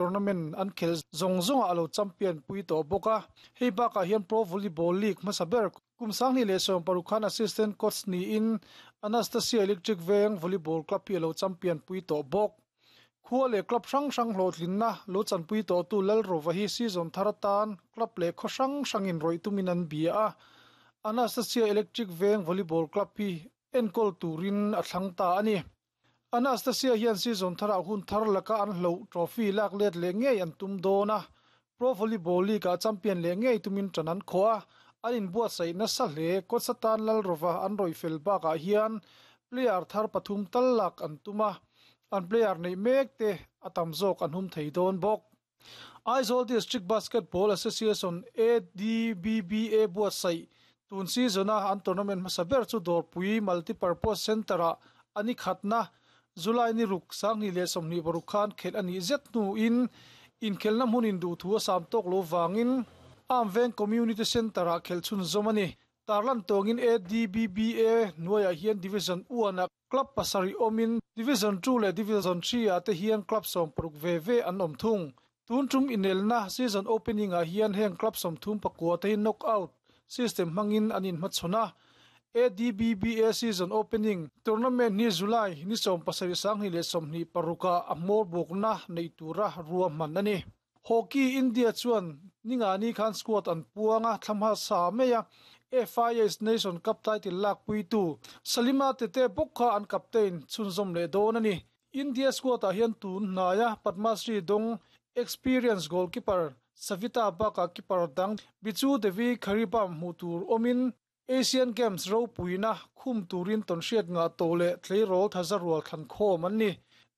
Tournament an khelh zawng zawngah a lo champion pui tawh bawk a. Hei bakah hian Pro Volleyball League hmasa ber kum 2016 khan assistant coach niin Anastasia Electric Veng Volleyball Club hi a lo champion pui tawh bawk. Khua leh club hrang hrang hlawhtlinna lo chanpui tawhtu Lalrova hi season thar atan club leh khaw hrang hrangin rawih tumin an bia a. Anastasia Electric Veng Volleyball Club hi enkawl turin a thlang ta a ni. Anastasia hian season tharah hun thar laka an hloh trophy lak let leh ngei an tum dawn a, Pro Volleyball League-ah champion leh ngei tumin ṭan an khawh a, an inbuatsaih nasa hle. Coach atan Lalrova an rawih fel bakah hian player thar pathum tal lak an tum a, an player neih mek te a tam zawk an hum thei dawn bawk. Aizawl District Basketball Association, ADBBA, buatsaih tun season-a an tournament hmasa ber chu Dawrpui Multipurpose Centre-ah a ni khatna July ni ruk 2026 khan khelh a nih zet hnuin inkhelhna hmunin duhthu a sam tawk lo vangin Armveng Community Centre-ah khelh chhunzawm a ni. Tarlan tawngin ADBBA hnuaiah hian Division I-ah Club pasarih awmin Division Two leh Division Three ah te hian club 60 ve ve an awm thung. Tun tum inelna season opening ah hian heng club 34 te hi knock out system hmangin an inhmachhawn a. ADBBA season opening tournament hi July ni 17 2026 ah a hmawr bawkna neih tura ruahman a ni. Hockey India chuan ningani khan squad an puang a, thla hmasa mai a, FIH Nation Cup title lakpuitu Salima Tete bawk kha an captain chhunzawm leh dawn a ni. India squad ah hian tun hnaia Padma Shri dawng experience goalkeeper Savita bakah keeper dang Bichu Devi Kharibam hmuh tur awmin Asian Games ropuina khum turin tawnhriat ngah tawh leh tleirawl thaza rual thlan khawm an ni.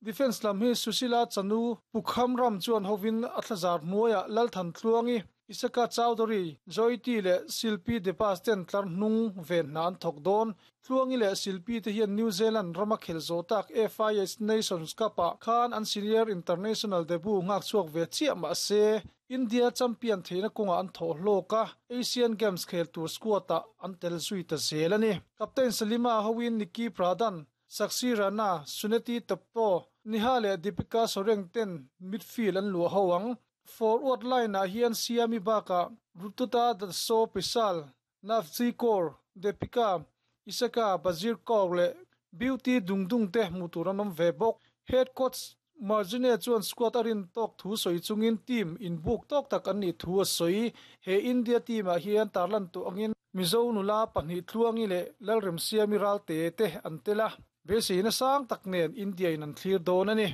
Defence lam hi Sushila Chanu Pukham ram chuan hovin a thlazar hnuaiah Lalthan Tluangi, Isaka Chowdhury, Joyti leh Silpi Debas ten tlar hnung ven hna an thawk dawn. Tluangi leh Silpi te hian New Zealand rama khel zawh tak FIH Nations Cup-ah khan an senior international debut nghak chhuak ve chiah mah se, India champion theihna kawngah an thawh hlawk a, Asian Games khel tur squad-ah an tel zui ta zel a ni. Captain Salima hoin Nikki Pradhan, Sakshi Rana, Suneti Toppo, Neha leh Deepika Soreng ten midfield an luah ho ang. Forward line-ah hian Siami bakah Rututa Dasso Pisal, Navji Kaur, Deepika, Isaka, Bazir Kaur leh Beauty Dungdung te hmuh tur an awm ve bawk. Head coach Margine chuan squad a rin tawk thu sawi chungin team inbuk tawk tak an nih thu a sawi. He India team ah hian tarlan tawh angin Mizo nula pahnih Tluangi leh Lalremsiami Ralte te an tel a, beiseina sang tak nen India in an thlir dawn a ni.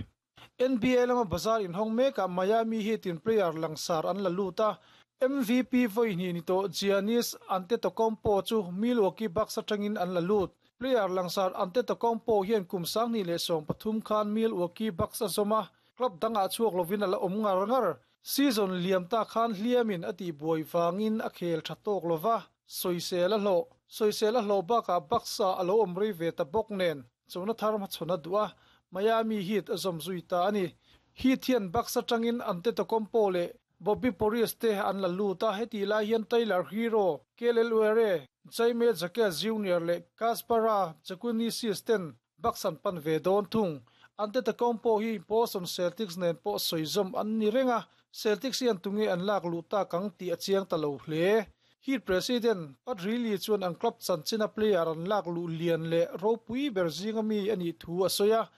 NBA lama bazar inhawng mekah Miami Heat in player langsar an la lut a, MVP vawi hnih ni tawh Giannis Antetokounmpo chu Milwaukee Bucks atangin an la lut. Player langsar Antetokounmpo hian kum 2013 khan Milwaukee Bucks a zawm a, club dangah chhuak lovin a la awm ngar ngar. Season liam ta khan hliamin a tihbuai vangin a khel tha tawk lova, sawisel a hlawh. Sawisel a hlawh bakah Bucks-ah a lo awm rei ve ta bawk nen, chona thar hmachhawn a duh a, Miami Heat a zawm zui ta a ni. Heat hian Bucks atangin Antetokounmpo leh Bobby Portis te an la lut a, hetih lai hian Tyler Herro, Kel'el Ware, Jaime Jaquez Junior leh Kaspara Jakunisys ten Bucks an pan ve dawn thung. Antetokounmpo hi Boston Celtics nen pawh sawi zawm an ni reng a, Celtics hian tunge an lak luh tak ang tih a chiang ta lo hle. Heat president Pat Riley chuan an club chanchina player an lak luh lian leh ropui ber zinga mi a nih thu a sawi a.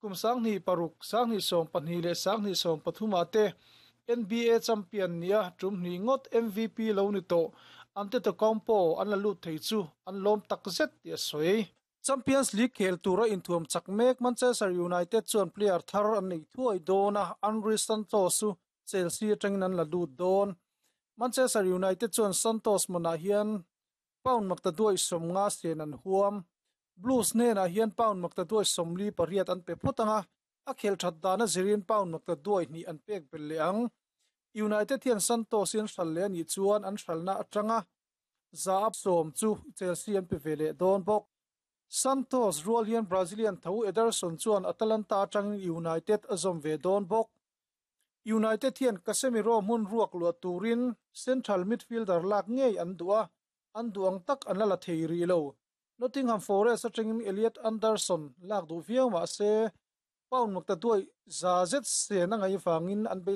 Kum 2006, 2020 leh 2023 ah te NBA champion nia tum hnih ngawt MVP lo ni tawh Antetokounmpo an la lut thei chu an lawm takzet tih a sawi. Champions League khel tura inthuam chak mek Manchester United chuan player thar an neih thuai dawn a, Andrey Santos chu Chelsea atangin an la lut dawn. Manchester United chuan Santos hmunah hian pound makta duai 50 sen an huam. Blues hnenah hian pound makta duai 48 an pe phawt ang a, a khel that dana zirin pound makta duai hnih an pek belh leh ang. United hian Santos in hral leh a nih chuan an hralna atanga za a sawm chu Chelsea an pe ve leh dawn bawk. Santos rual hian Brazilian tho Ederson chuan Atalanta atangin United a zawm ve dawn bawk. United hian Casemiro hmun ruak luah turin central midfielder lak ngei an duh a, an duh ang tak an la la thei rih lo. Nottingham Forest atangin Elliot Anderson lak duh viau mah se. Pound maktaduai za zet sen a ngaih vangin an beisei.